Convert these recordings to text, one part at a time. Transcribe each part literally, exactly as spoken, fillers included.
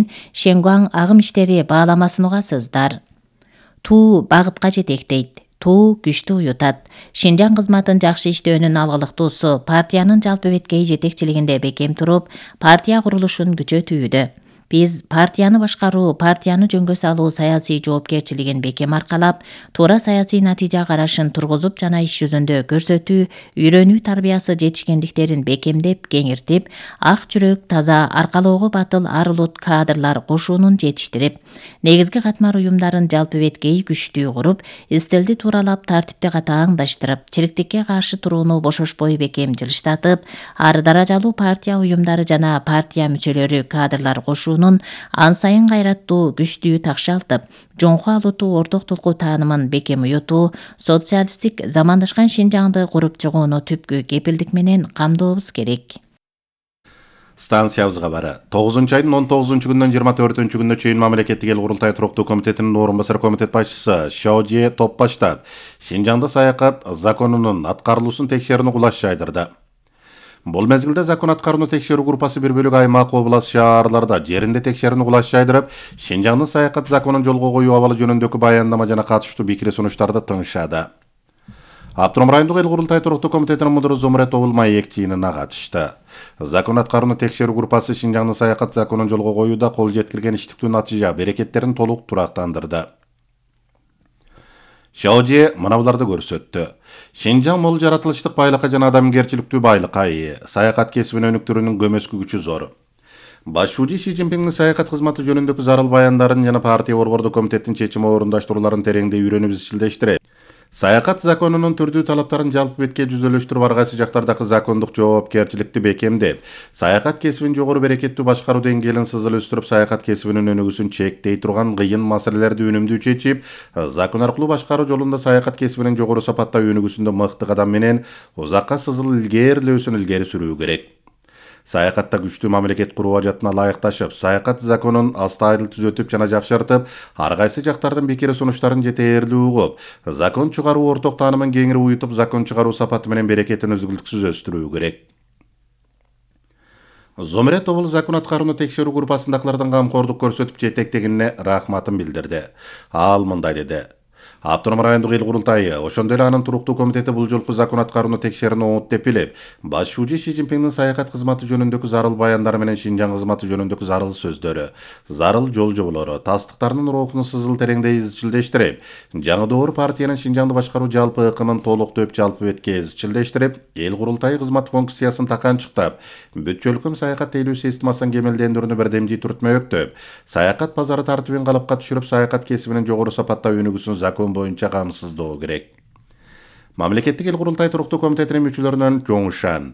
менен Шенгуан агым иштери бааламасын угасыздар. Туу багытка жетектейт. Туу күчтү уютат. Шинжаң кызматын жакшы иштөөнүн алгылыктуусу партиянын жалпы беткей жетекчилигинде бекем туруп, партия курулушун күчөтүүдө. Биз партияны башкаруу, партияны жөнгө салуу саясий жоопкерчилигин бекем аркалап, туура саясий натыйжа карашын тургузуп жана иш жүзүндө көрсөтүү, үйрөнүү тарбиясы жетишкендиктерин бекемдеп, кеңиртип, ак жүрөк, таза, аркалоого батыл ар улут кадрлар кошуунун жетиштирип, негизги катмар уюмдарын жалпы беткей күчтүү куруп, истилди тууралап, тартипти катааңдаштырып, чириктикке каршы турууну бошошпой бекем жылыштатып, ар даражалуу партия уюмдары жана партия мүчөлөрү кадрлар кошуу ан сайын кайраттуу, күчтүү такшалтып, жоңку алутуу орток тулкуу таанымын бекем уютуу, социалисттик замандашкан Шинжаңды куруп чыгууну түпкү кепилдик менен камдообуз керек. Станциябыз кабары. тогузунчу айдын он тогузунчу күндөн жыйырма төртүнчү күнүнө чейин мамлекеттик эл курултай туруктуу комитетинин орун басар комитет башчысы Шаожи Топбаштап Шинжаңда саякат законунун аткарылуусун текшерүүнү кулаш жайдырды. Бул мезгилде закон аткарууну текшерүү группасы бир бөлүк аймак, область, шаарларда жеринде текшерүүнү кулаш жайдырып, Шинжаңдын саякат законун жолго коюу абалы жөнүндөгү баяндама жана катыштуу пикир сунуштарды тыңшады. Автоном райондук эл курултай туруктуу комитетинин мудуру Зумрет Маек жыйынына катышты. Закон аткарууну текшерүү группасы Шинжаңдын саякат законун жолго коюуда кол жеткирген иштиктүү натыйжа, берекеттерин толук турактандырды. Шаожи мына буларды көрсөттү. Шинжаң мол жаратылыштык байлыкка жана адамгерчиликтүү байлыкка ээ, саякат кесибин өнүктүрүүнүн көмөскү күчү зор. Башчы Си Цзиньпиндин саякат кызматы жөнүндөгү зарыл баяндарын жана партия борбордук комитеттин чечими орундаштырууларын тереңдей үйрөнүп изчилдештирет. Саякат законунун түрдүү талаптарын жалпы бетке жүзөлөштүрүп, ар кайсы жактардагы закондук жоопкерчиликти бекемдеп, саякат кесибин жогору берекеттүү башкаруу деңгээлин сызыл өстүрүп, саякат кесибинин өнүгүүсүн чектей турган кыйын маселелерди үнүмдүү чечип, закон аркылуу башкаруу жолунда саякат кесибинин жогору сапатта өнүгүүсүндө мыкты кадам менен узакка сызыл илгээрлөөсүн илгери сүрүү керек. Саякатта күчтүү мамлекет куруу ажатына ылайыкташып, саякат законун астайдыл түзөтүп жана жакшыртып, ар кайсы жактардын пикир сунуштарын жетээрлүү угуп, закон чыгаруу орток таанымын кеңири уютуп, закон чыгаруу сапаты менен берекетин үзгүлтүксүз өстүрүү керек. Зомрет обул закон аткарууну текшерүү группасындагылардын камкордук көрсөтүп жетектегенине рахматын билдирди. Ал мындай деди. Автоном райондук эл курултайы, ошондой эле анын туруктуу комитети бул жолку закон аткарууну текшерүүнү оңот деп билип, башчы Си Цзиньпиндин саякат кызматы жөнүндөгү зарыл баяндары менен Шинжаң кызматы жөнүндөгү зарыл сөздөрү, зарыл жол жоболору, тастыктарынын рухуну сызыл тереңдей изчилдештирип, жаңы доор партиянын Шинжаңды башкаруу жалпы ыкымын толуктоп жалпы бетке изчилдештирип, эл курултайы кызмат функциясын таканчыктап, бүт-чөлкөм саякат тейлөө системасын кемелдендирүүнү бирдемжий түртмөктөп, саякат базары тартибин калыпка түшүрүп, саякат кесибинин жогору сапатта өнүгүүсүн закон боюнча камсыздоо керек. Мамлекеттик эл курултай туруктуу комитетинин мүчөлөрүнөн Жоңшан,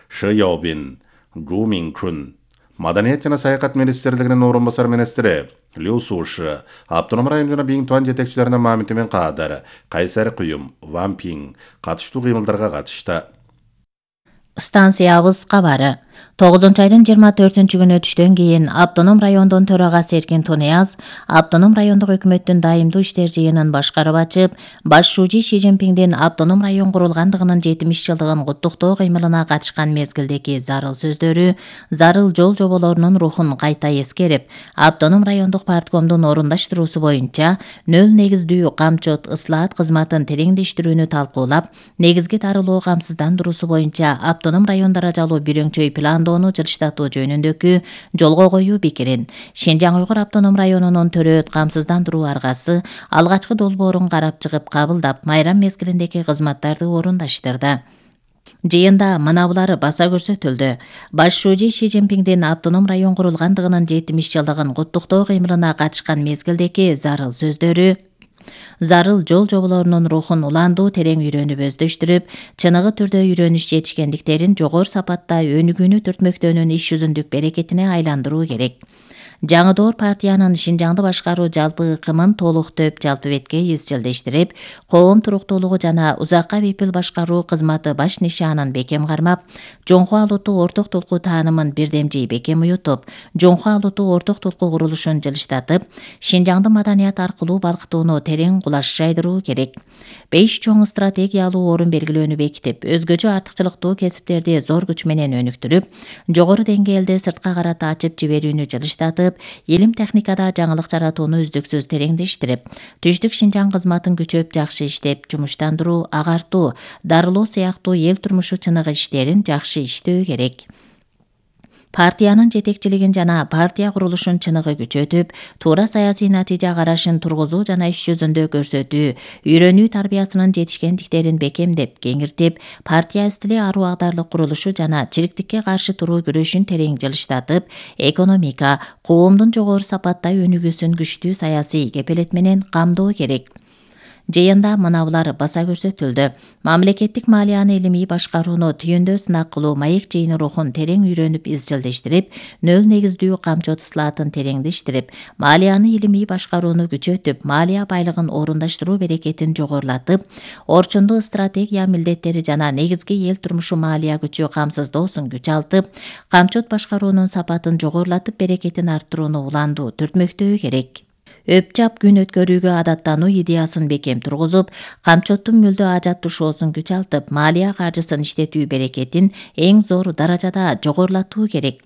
Ши Яобин, Жу Минкун, Маданият жана саякат министрлигинин орун басар министри Лю Суши, автоном район жана Биңтуан жетекчилеринин Мамити мен Каадар, Кайсар Куюм, Ван Пиң катыштуу кыймылдарга катышты. Станциябыз кабары. тогузунчу айдын жыйырма төртүнчү күнү түштөн кийин Автоном райондун төрагасы Эркин Тунияз Автоном райондук өкмөттүн дайымдуу иштер жыйынын башкарып ачып, башчы Си Цзиньпиндин Автоном район курулгандыгынын жетимиш жылдыгын куттуктоо кыймылына катышкан мезгилдеги зарыл сөздөрү, зарыл жол жоболорунун рухун кайта эскерип, Автоном райондук парткомдун орундаштыруусу боюнча нөл негиздүү камчыт ыслаат кызматын тереңдештирүүнү талкуулап, негизги тарылуу камсыздандыруусу боюнча Автоном район даражалуу бирөңчөй пландоону жылыштатуу жөнүндөгү жолго коюу пикирин Шинжаң Уйгур автоном районунун төрөт камсыздандыруу аргасы алгачкы долбоорун карап чыгып кабылдап, майрам мезгилиндеги кызматтарды орундаштырды. Жыйында мына булары баса көрсөтүлдү. Башчы Си Цзиньпиндин Автоном район курулгандыгынын жетимиш жылдыгын куттуктоо кыймылына катышкан мезгилдеги зарыл сөздөрү, зарыл жол жоболорунун рухун уландуу терең үйрөнүп өздөштүрүп, чыныгы түрдө үйрөнүш жетишкендиктерин жогору сапатта өнүгүүнү түртмөктөөнүн иш жүзүндүк берекетине айландыруу керек. Жаңы доор партиянын Шинжаңды башкаруу жалпы ыкымын толуктоп жалпы бетке изчилдештирип, коом туруктуулугу жана узакка бепил башкаруу кызматы баш нишанын бекем кармап, жоңку алутуу орток тулкуу таанымын бирдемжий бекем уютуп, жоңку алутуу орток тулкуу курулушун жылыштатып, Шинжаңды маданият аркылуу балкытууну терең кулаш жайдыруу керек. Беш чоң стратегиялуу орун белгилөөнү бекитип, өзгөчө артыкчылыктуу кесиптерди зор күч менен өнүктүрүп, жогору деңгээлде сыртка карата ачып жиберүүнү жылыштатып, жылдамдатып, илим техникада жаңылык жаратууну үздүксүз тереңдештирип, түштүк Шинжаң кызматын күчөп жакшы иштеп, жумуштандыруу, агартуу, дарылоо сыяктуу эл турмушу чыныгы иштерин жакшы иштөө керек. Партиянын жетекчилигин жана партия курулушун чыныгы күчөтүп, туура саясий натыйжа карашын тургузуу жана иш жүзүндө көрсөтүү, үйрөнүү тарбиясынын жетишкендиктерин бекемдеп, кеңиртип, партия стили аруу агдарлык курулушу жана чириктикке каршы туруу күрөшүн терең жылыштатып, экономика, коомдун жогору сапатта өнүгүүсүн күчтүү саясий кепелет менен камдоо керек. Жыйында мынабулар баса көрсөтүлдү. Мамлекеттик малияны илимий башкарууну түйүндө сынак кылуу маек жыйыны рухун терең үйрөнүп изчилдештирип, нөл негиздүү камчот ысылаатын тереңдештирип, малияны илимий башкарууну күчөтүп, малия байлыгын орундаштыруу берекетин жогорулатып, орчундуу стратегия милдеттери жана негизги эл турмушу малия күчү камсыздоосун күч алтып, камчот башкаруунун сапатын жогорулатып, берекетин арттырууну уландуу түртмөктөө керек. Өпчап күн өткөрүүгө адаттануу идеясын бекем тургузуп, камчоттун мүлдө ажат тушоосун күч алтып, малия каржысын иштетүү берекетин эң зор даражада жогорулатуу керек.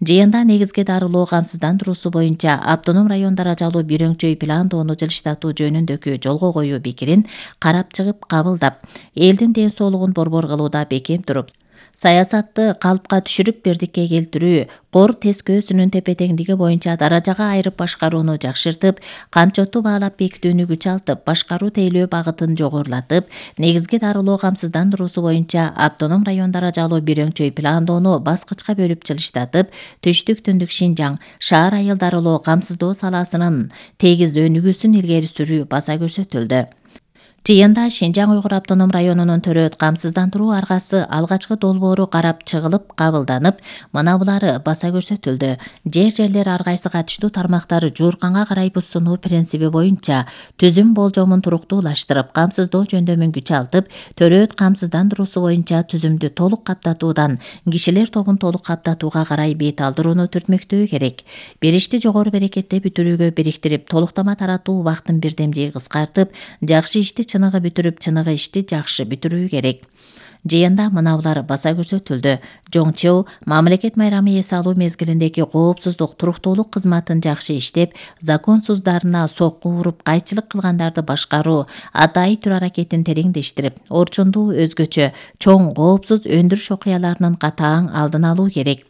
Жыйында негизги дарылоо камсыздандыруусу боюнча автоном район даражалуу бир өңчөй пландоону жылыштатуу жөнүндөгү жолго коюу пикирин карап чыгып кабылдап, элдин ден соолугун борбор кылууда бекем туруп, саясатты калыпка түшүрүп бирдикке келтирүү, кор тескөөсүнүн тепе-теңдиги боюнча даражага айырып башкарууну жакшыртып, камчотту баалап бекитүүнү күч алтып, башкаруу тейлөө багытын жогорулатып, негизги дарылоо камсыздандыруусу боюнча автоном район даражалуу бир өңчөй пландоону баскычка бөлүп жылыштатып, түштүк түндүк Шинжаң шаар айыл дарылоо камсыздоо саласынын тегиз өнүгүүсүн илгери сүрүү баса көрсөтүлдү. Жыйында Шинжаң Уйгур автоном районунун төрөт камсыздандыруу аргасы алгачкы долбоору карап чыгылып, кабылданып, мынабулары баса көрсөтүлдү. Жер-жерлер ар кайсы катыштуу тармактары жуурканга карай буссунуу принциби боюнча түзүм болжомун туруктуулаштырып, камсыздоо жөндөмүн күч алтып, төрөт камсыздандыруусу боюнча түзүмдү толук каптатуудан кишилер тобун толук каптатууга карай бет алдырууну түртмөктөө керек. Бир ишти жогору берекетте бүтүрүүгө бириктирип, толуктама таратуу убактын бирдемжей кыскартып, жакшы ишти чыныгы бүтүрүп, чыныгы ишти жакшы бүтүрүү керек. Жыйында мынабулар баса көрсөтүлдү. Жоңчу мамлекет майрамы эс алуу мезгилиндеги коопсуздук, туруктуулук кызматын жакшы иштеп, законсуздарына сокку уруп, кайчылык кылгандарды башкаруу, атайы түр аракетин тереңдештирип, орчундуу өзгөчө чоң коопсуз өндүрүш окуяларынын катаң алдын алуу керек.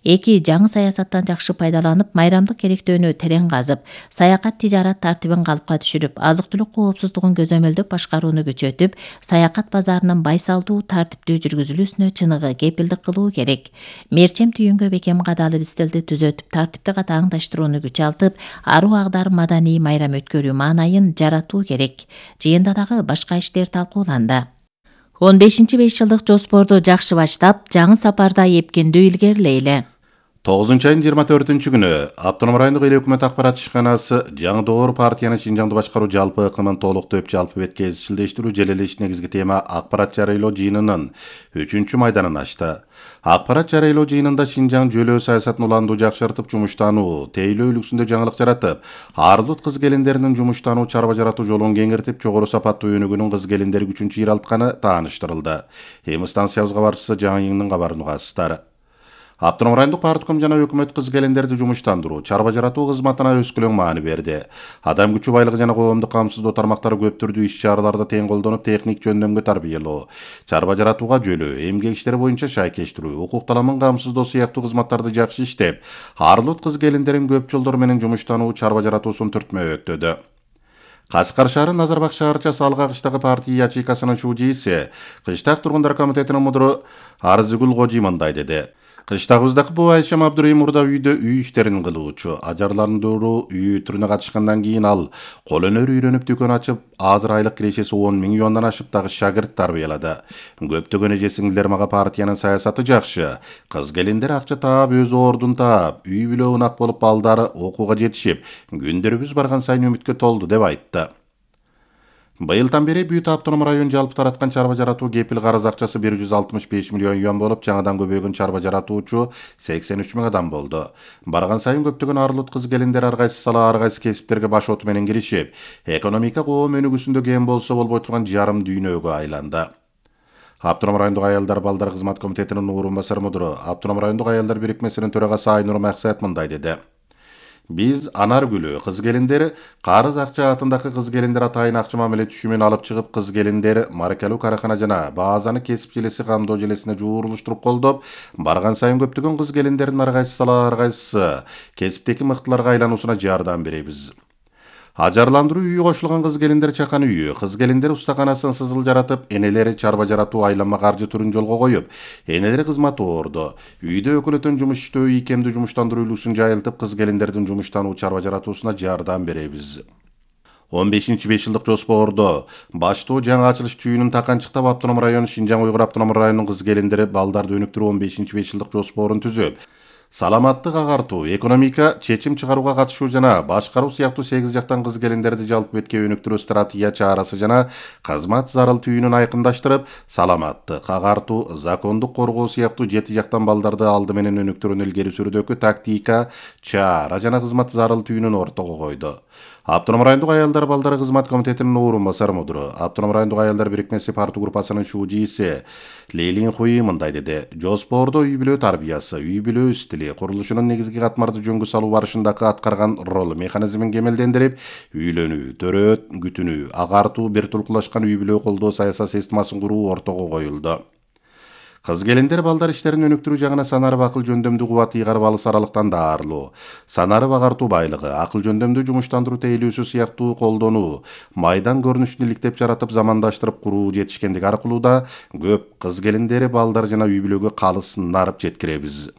Эки жаңы саясаттан жакшы пайдаланып, майрамдык керектөөнү терең казып, саякат тижарат тартибин калыпка түшүрүп, азык-түлүк коопсуздугун көзөмөлдөп башкарууну күчөтүп, саякат базарынын байсалдуу, тартиптүү жүргүзүлүүсүнө чыныгы кепилдик кылуу керек. Мерчем түйүнгө бекем кадалып стилди түзөтүп, тартипти катаңдаштырууну күч алтып, аруу агдар маданий майрам өткөрүү маанайын жаратуу керек. Жыйында дагы башка иштер талкууланды. он бешинчи беш жылдык жоспорду жакшы баштап, жаңы сапарда эпкиндүү илгерилейли. тогузунчу айдын жыйырма төртүнчү күнү Автоном райондук эл өкмөт акбарат ишканасы жаңы доор партиянын Шинжаңды башкаруу жалпы ыкымын толуктоп жалпы бетке изчилдештирүү желелеш негизги тема акбарат жарыялоо жыйынынын үчүнчү майданын ачты. Акбарат жарыялоо жыйынында Шинжаң жөлөө саясатын уландуу жакшыртып, жумуштануу, тейлөө үлгүсүндө жаңылык жаратып, арлут кыз келиндеринин жумуштануу, чарба жаратуу жолун кеңиртип, жогору сапаттуу өнүгүүнүн кыз келиндери күчүн чыйралтканы тааныштырылды. Эми станциябызга барчысы жаңы йыңдын кабарын угасыздар. Автоном райондук партком жана өкмөт кыз келиндерди жумуштандыруу, чарба жаратуу кызматына өскөлөң маани берди. Адам күчү байлыгы жана коомдук камсыздоо тармактары көп түрдүү иш-чараларды тең колдонуп, техник жөндөмгө тарбиялоо, чарба жаратууга жөлөө, эмгек иштери боюнча шайкештирүү, укук таламын камсыздоо сыяктуу кызматтарды жакшы иштеп, арлут кыз келиндерин көп жолдор менен жумуштануу, чарба жаратуусун түртмөктөдү. Кашкар шаары Назарбак шаарчасы Алга кыштагы партия ячейкасынын шуудейси, Кыштак тургундар комитетинин мудуру Арзыгүл Кожи мындай деди. Кыштагыбыздагы бул Айшам Абдурайым мурда үйдө үй иштерин кылуучу. Ажарландыруу үй түрүнө катышкандан кийин ал кол өнөр үйрөнүп дүкөн ачып, азыр айлык кирешеси он миң юандан ашып дагы шагырт тарбиялады. Көптөгөн эже сиңдилер мага партиянын саясаты жакшы. Кыз келиндер акча таап, өз ордун таап, үй бүлө унак болуп, балдары окууга жетишип, күндөрүбүз барган сайын үмүткө толду деп айтты. Быйылдан бери Бүт автоном район жалпы тараткан чарба жаратуу кепил карыз акчасы бир жүз алтымыш беш миллион юан болуп, жаңадан көбөйгөн чарба жаратуучу сексен үч миң адам болду. Барган сайын көптөгөн арлут кыз келиндер ар кайсы сала, ар кайсы кесиптерге баш оту менен киришип, экономика коом өнүгүүсүндө кем болсо болбой турган жарым дүйнөгө айланды. Автоном райондук аялдар балдар кызмат комитетинин орун басар мудуру, Автоном райондук аялдар бирикмесинин төрагасы Айнур Максат мындай деди. Биз Анар Гүлү кыз келиндер карыз акча атындагы кыз келиндер атайын акча мамиле түшүмүн алып чыгып, кыз келиндер маркалуу каракана жана баазаны кесип желеси камдоо желесине жуурулуштуруп колдоп, барган сайын көптөгөн кыз келиндердин ар кайсы ар кайсы кесиптеги мыктыларга айлануусуна жардам беребиз. Ажарландыруу үйү кошулган кыз келиндер чакан үйү, кыз келиндер устаканасын сызыл жаратып, энелери чарба жаратуу айланма каржы түрүн жолго коюп, энелери кызмат орду. Үйдө өкүлөтөн жумуш иштөө, ийкемдүү жумуштандыруу үлгүсүн жайылтып, кыз келиндердин жумуштануу чарба жаратуусуна жардам беребиз. он бешинчи беш жылдык жоспордо баштоо жаңы ачылыш түйүнүн таканчыктап, Автоном району Шинжаң Уйгур автоном районунун кыз келиндери балдарды өнүктүрүү он бешинчи беш жылдык жоспорун түзүп, саламаттык агартуу, экономика, чечим чыгарууга катышуу жана башкаруу сыяктуу сегиз жактан кыз келиндерди жалпы бетке өнүктүрүү стратегия чарасы жана кызмат зарыл түйүнүн айкындаштырып, саламаттык агартуу, закондук коргоо сыяктуу жети жактан балдарды алды менен өнүктүрүүнү илгери сүрүүдөгү тактика, чара жана кызмат зарыл түйүнүн ортого койду. Автоном райондук аялдар балдары кызмат комитетинин орун басар мудуру, Автоном райондук аялдар бирикмеси парту группасынын шужиси Лейлин Хуи мындай деди: жоспордо үй бүлө тарбиясы, үй бүлө стили, курулушунун негизги катмарды жөнгө салуу барышындагы аткарган ролу механизмин кемелдендирип, үйлөнүү, төрөт, күтүнүү, агартуу, бир тулкулашкан үй бүлө колдоо саясат системасын куруу ортого коюлду. Кыз келиндер балдар иштерин өнүктүрүү жагына санарып акыл жөндөмдүү кубат ыйгарып алыс аралыктан даарылуу, санарып агартуу байлыгы, акыл жөндөмдүү жумуштандыруу тейлүүсү сыяктуу колдонуу, майдан көрүнүшүн иликтеп жаратып, замандаштырып куруу жетишкендиги аркылуу да көп кыз келиндери балдар жана үй бүлөгө калыс нарып жеткиребиз.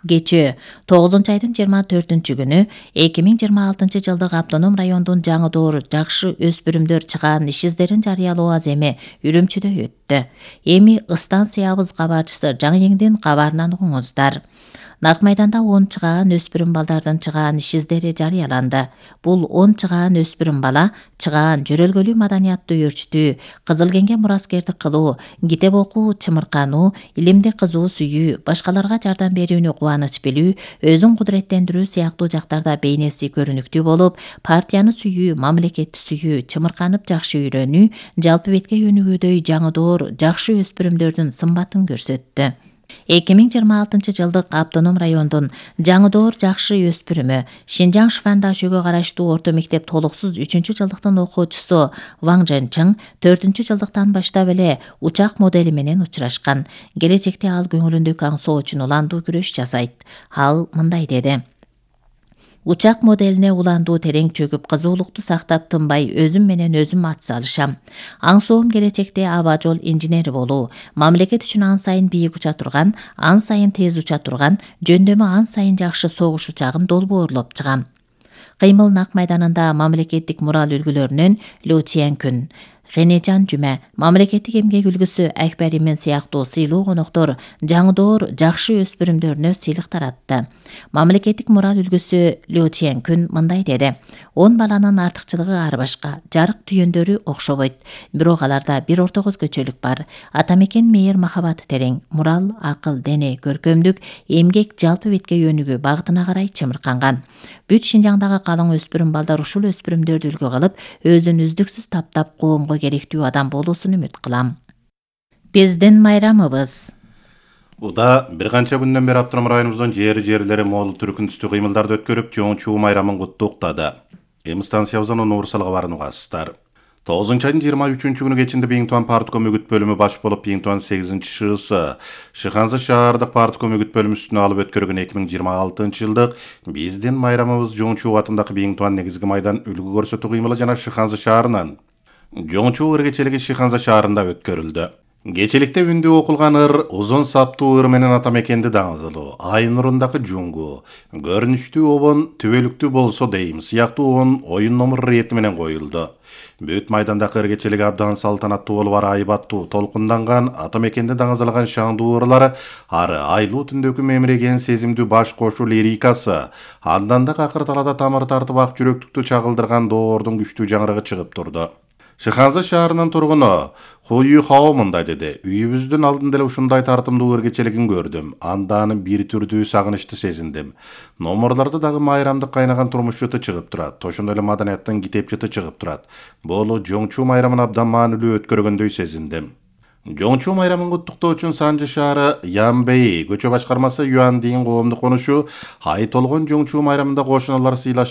Кечээ тогузунчу айдын жыйырма төртүнчү күнү эки миң жыйырма алтынчы жылдык Автоном райондун жаңы доор жакшы өспүрүмдөр чыгаан иш издерин жарыялоо аземи Үрүмчүдө өттү. Эми станциябыз кабарчысы Жаңыеңдин кабарынан угуңуздар. Нак майданда он чыгаан өспүрүм балдардын чыгаан иш издери жарыяланды. Бул он чыгаан өспүрүм бала чыгаан жөрөлгөлүү маданиятты өөрчүтүү, кызылкеңге мураскердик кылуу, китеп окуу, чымыркануу, илимди кызуу сүйүү, башкаларга жардам берүүнү кубаныч билүү, өзүн кудуреттендирүү сыяктуу жактарда бейнеси көрүнүктүү болуп, партияны сүйүү, мамлекетти сүйүү, чымырканып жакшы үйрөнүү, жалпы бетке өнүгүүдөй жаңы доор жакшы өспүрүмдөрдүн сымбатын көрсөттү. эки миң жыйырма алтынчы жылдык Автоном райондун жаңы доор жакшы өспүрүмү Шинжаң Швандашөгө караштуу орто мектеп толуксуз үчүнчү жылдыктын окуучусу Ваң Жэнчиң төртүнчү жылдыктан баштап эле учак модели менен учурашкан. Келечекте ал көңүлүндөгү аңсоо үчүн уландуу күрөш жасайт. Ал мындай деди: учак моделине уландуу терең чөгүп, кызуулукту сактап тынбай өзүм менен өзүм ат салышам. Аңсоом келечекте аба жол инженери болуу, мамлекет үчүн ан сайын бийик уча турган, ан сайын тез уча турган, жөндөмү ан сайын жакшы согуш учагын долбоорлоп чыгам. Кыймыл Нак майданында мамлекеттик мурал үлгүлөрүнөн Лю Тянкүн, Генежан Жүмө, мамлекеттик эмгек үлгүсү Акбар Имен сыяктуу сыйлуу коноктор жаңы доор жакшы өспүрүмдөрүнө сыйлык таратты. Мамлекеттик мурал үлгүсү Лю Тянкүн мындай деди: он баланын артыкчылыгы ар башка, жарык түйөндөрү окшобойт, бирок аларда бир ортого өзгөчөлүк бар. Атамекен мейир махабаты терең, мурал, акыл, дене, көркөмдүк, эмгек, жалпы бетке өнүгүү багытына карай чымырканган. Бүт Шинжаңдагы калың өспүрүм балдар ушул өспүрүмдөрдү үлгү кылып, өзүн үздүксүз таптап коомго керектүү адам болуусун үмүт кылам. Биздин майрамыбыз. Уда бир канча күндөн бери Автоном районубуздун жери жерлери моол түркүн түстүү кыймылдарды өткөрүп, чоң-чуу майрамын куттуктады. Эми станциябыздан Нуурсалга барууну угасыздар. тогузунчу айдын жыйырма үчүнчү күнү кечинде Биңтуан партком үгүт бөлүмү баш болуп, Биңтуан сегизинчи ШС Шыханзы шаардык партком үгүт бөлүмүсүнө алып өткөргөн эки миң жыйырма алтынчы жылдык биздин майрамыбыз Жоңчуу атындагы Биңтуан негизги майдан үлгү көрсөтүү кыймылы жана Шыханзы шаарынын Жоңчуу ыргечелиги Шыханзы шаарында өткөрүлдү. Кечеликте үндү окулган ыр, узун саптуу ыр менен атамекенди даңызылуу, ай нурундагы жуңгу, көрүнүштүү обон түбөлүктүү болсо дейм сыяктуу он оюн номер рети менен коюлду. Бүт майдандагы ыргечелиги абдан салтанаттуу болуп, ары айбаттуу, толкунданган, атамекенди даңазалаган шаңдуу ырлары, ары айлуу түндөгү мемиреген сезимдүү баш кошуу лирикасы, андан да акыр талада тамыр тартып ак жүрөктүктү чагылдырган доордун күчтүү жаңырыгы чыгып турду. Шыханзы шаарынын тургуну Хуй Хао мындай деди: үйүбүздүн алдында эле ушундай тартымдуу ыргечелигин көрдүм. Андан бир түрдүү сагынычты сезиндим. Номерлордо дагы майрамдык кайнаган турмуш жыты чыгып турат. Ошондой эле маданияттын китеп жыты чыгып турат. Бул Жоңчуу майрамын абдан маанилүү өткөргөндөй сезиндим. Жоңчу майрамын куттуктоо үчүн Санжы шаары Янбей көчө башкармасы Юандин коомдук конушу ай толгон Жоңчу майрамында кошуналар сыйлашып